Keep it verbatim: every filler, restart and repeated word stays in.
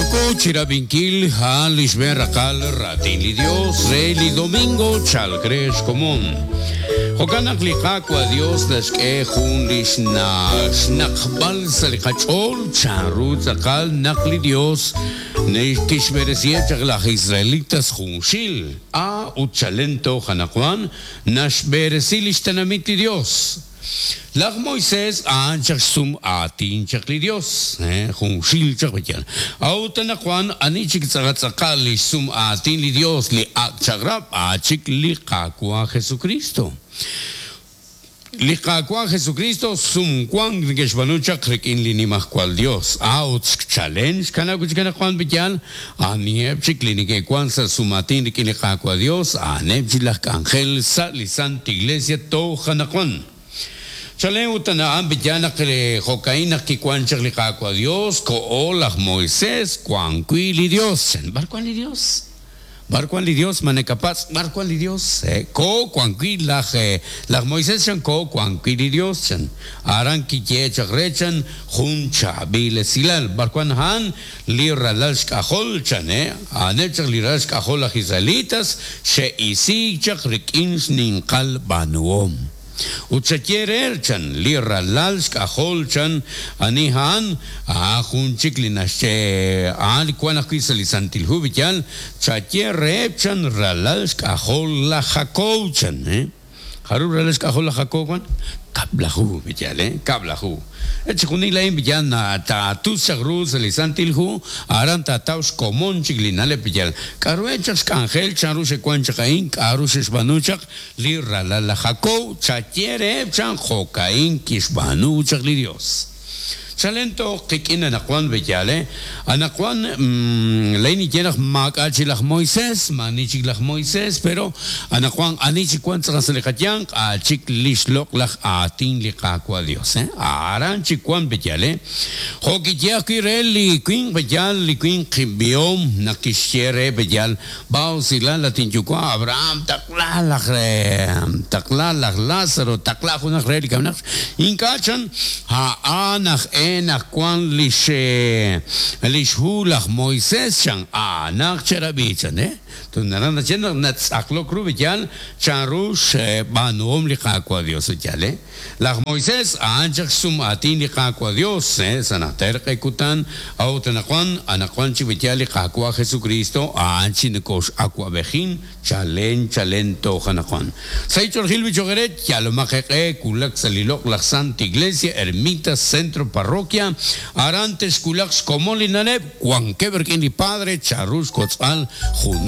Yoko chirab'inkil a'an li xb'een raqal raatin li Dios re li domingo chalk re xkomon. Jo'kan naq li Qaawa' Dios naxk'e jun li xnaqb'al sa' li qach'ool chanru tz'aqal naq li Dios kixb'eresiheb' chaq laj israelitas junxil a ut chalen toj anaqwan naxb'eresi li xtenamit li Dios. Laj Moisés a'an chaq xsum aatin chaq li Dios, eh, junxil chaq b'iyal. A'ut anaqwan ani chik tz'aqatz'aqal li xsum aatin li Dios li ak' chaq'rab' a' chik li Qaawa' Jesucristo. Li Qaawa' Jesucristo sumwank neke'xb'aanu chaq rik'in li nimajwal Dios. A'ut chalen xkanab' chik anaqwan b'iyal aniheb' chik li neke'wan sa' sumaatin rik'in li Qaawa' Dios a'aneb' chik laj k'anjel sa' li Santa Iglesia toj anaqwan. Chalen ut a'an b'iyal naq jo'ka'in naq kiwan chaq li Qaawa' Dios ko'o laj Moisés wan wi' li Dios. B'ar wan li Dios? B'ar wan li Dios ma nekapatz' b'ar wan li Dios? Eh, ko wan wi' laj eh, laj Moisés chan ko wan wi' li Dios chan. Aran kiye chaq re chan jun chaab'il esilal. B'ar wan a'an li ralal xk'ajol chan, eh? A'aneb' chaq li ralal xk'ajol laj israelitas xe'isiik chaq rik'in xninqal b'aanuhom. Ut xaye re chan li ralal xk'ajol chan ani a'an a'an jun chik li naxye a'an li wan ajwi' sa' li Santil Hu b'iyal chaye reheb' chan ralal xk'ajol laj Jacob chan, eh? Jarub' ralal xk'ajol laj Jacob wan? Kab'laju b'iyal, eh? Kab'laju. Chixjunil a'in b'iyal na taatus chaq ru sa' li Santil Hu aran taataw xkomon chik li na'leb' b'iyal. K'a'ru chaq xk'anjel chanru xe'wan chaq a'in k'a'ru xe'xb'aanu chaq li ralal laj Jacob chaye reheb' chan jo'ka'in kixb'aanu chaq li Dios. Chalen toj qik'in anaqwan b'iyal, eh? Anaqwan lay niye naq maak'a' chik laj Moisés, maani chik laj Moisés, pero anaqwan ani chik wan tz'aqal sa' li qayanq a' chik li xloq' laj aatin li Qaawa' Dios, eh? Aran chik wan b'iyal, eh? Jo' kiye ajwi' re li winq b'iyal, li winq b'ihom naq kixye re b'iyal, b'awsilal latin yuwa' Abraham taqla laj taqla laj Lázaro, taqla junaq re li kamenaq. Ink'a' chan a'an aj e naq wan lix lix hu laj Moisés chan a'anaq cherab'i chan, eh? Naran nache naq natz'aqlok ru b'iyal chanru xb'aanuhom li Qaawa' Dios b'iyal, eh? Laj Moisés a'an chaq xsum aatin li Qaawa' Dios, eh? Sa' najter q'e kutan a'ut anaqwan anaqwan chik b'iyal li Qaawa' Jesucristo a'an chi nokox'awab'ejin chalen chalen toj anaqwan. Sa' ich'orjil bichogeret yalomaq eq'e kulak sa' li loq' laj Santa Iglesia Ermita Centro Parroquia aran texkulaq xkomon li na'leb' wankeb' rik'in li Padre chanru xkotz'b'al junaq